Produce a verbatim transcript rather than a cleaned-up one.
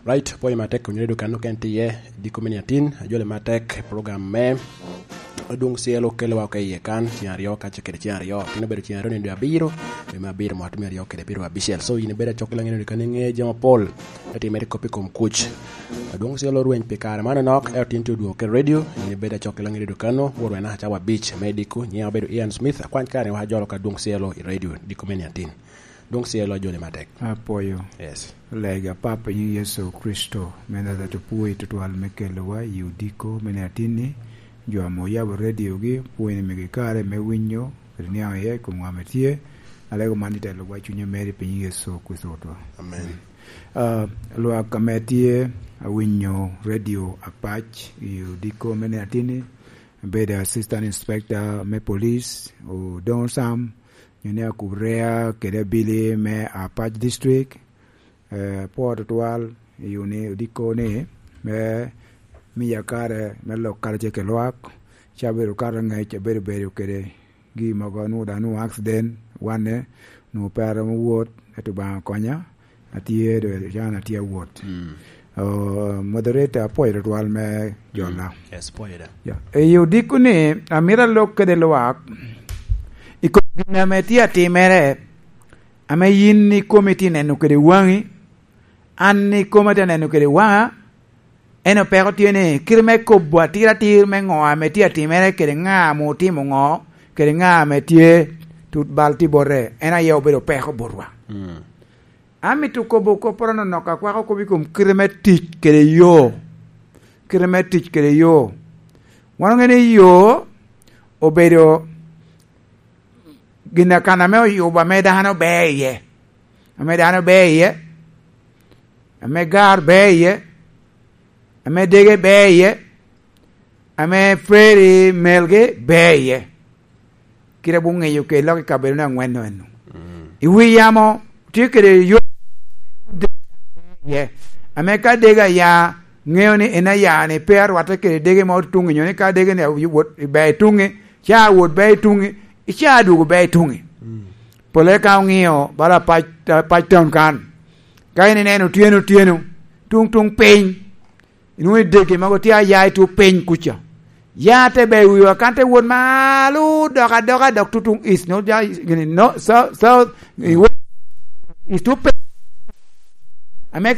Right, pwoyo matek, onyere dukan okene tye iye, diko me niatin, ajole matek, program me Adwoŋ Cielo okelowa oko i iye kan, ceng aryo, kace kede ceng aryo. Tin obedo ceng aryo nino dwe abiro, dwe me abiro mwaka me aryo kede pyero abicel. So, in ibedo acok i Laŋet Dwe kan, iŋe jami apol, ento imito kop i kom kuc. Adwoŋ Cielo orweny pi kare man onok, ento tin tye odwogo kede radio, in ibedo acok i Laŋet Dwe kan, wot wena cawa abic, me diko, nyiŋa obedo Ian Smith, akwany kare ni wa ajolo ka Adwoŋ Cielo i radio, diko me niatin. Adwoŋ Cielo ajole matek. Apwoyo. Yes. Lega Papa i nyiŋ Yecu Kricito, me Najaret, opwoi tutwal me kelowa i odiko me niatin-ni, jo ame oyabo rediogi, pwony ni migi kare me winyo, kede niaŋ iye i kom ŋa ame tye, alego man i telowa i cunye meri pi nyiŋ Yecu Kricito Rwotwa. Amen. Ah, lwak ame tye awinyo redio apac i odiko me niatin-ni, abedo Assistant Inspector me Police, Odoŋo Sam, nyo ni Akubu Rea kede Abili me Apac District, eh, apwoo tutwal i uni odiko ni me miya kare me lok karacel kede lwak, ca abedo kato angec, abedo bedo kede gi mogo, nwoŋo daŋ nwoŋo accident, wanne, nwoŋo pe aromo wot, ento Obaŋa okonya, atye, do, can atye awot. Mm. Oh, moderator, apwoyo tutwal me jola. Mm. Yes, pwoyo da. Ya, i odiko ni, amito alok kede lwak, i kom gin ame tye atimere, ame yin ikomi tye neno kede waŋi, an ikoma tye neno kede waŋa, ento peko tye ni, kite me kobo atir atir me ŋo ame tye atimere kede ŋa ame otimo ŋo, kede ŋa ame tye tut bal tye bote, en aye obedo peko botwa. Mm. Amito kobo kopporo nonok, akwako kop i kom kite me tic kede yo. Kite me tic kede yo. Wan oŋeo ni yo obedo gin akan ame oyubo, ame dano ber iye, ame dano ber iye, ame gar ber iye, ame dege ber iye, ame peri melgi ber iye. Kite abino ŋeyo kede lok i kabedo-nu aŋwen-nu eno. Mm. I wi yamo tye kede yo iye, ame ka dege aya, ŋeo ni en aya ni pe arwatte kede dege ma otuŋ-ŋi, nyo ni ka dege ni wot ber i tuŋ-ŋi, ca wot ber i tuŋ-ŋi, ica dwogo ber i tuŋ-ŋi. Mm. Pole ka oŋeo bala Apac, Apac Town kan, ka in ineno otyeno otyeno, tuŋ tuŋ piny, inwoŋo i dege mogo tye aya i tuŋ piny kuca. Ya te ber i wiwa kan te wot malo dok adoka dok tutuŋ east, no, ja, gini, no, south, south, i west, east tuŋ piny. Ame ka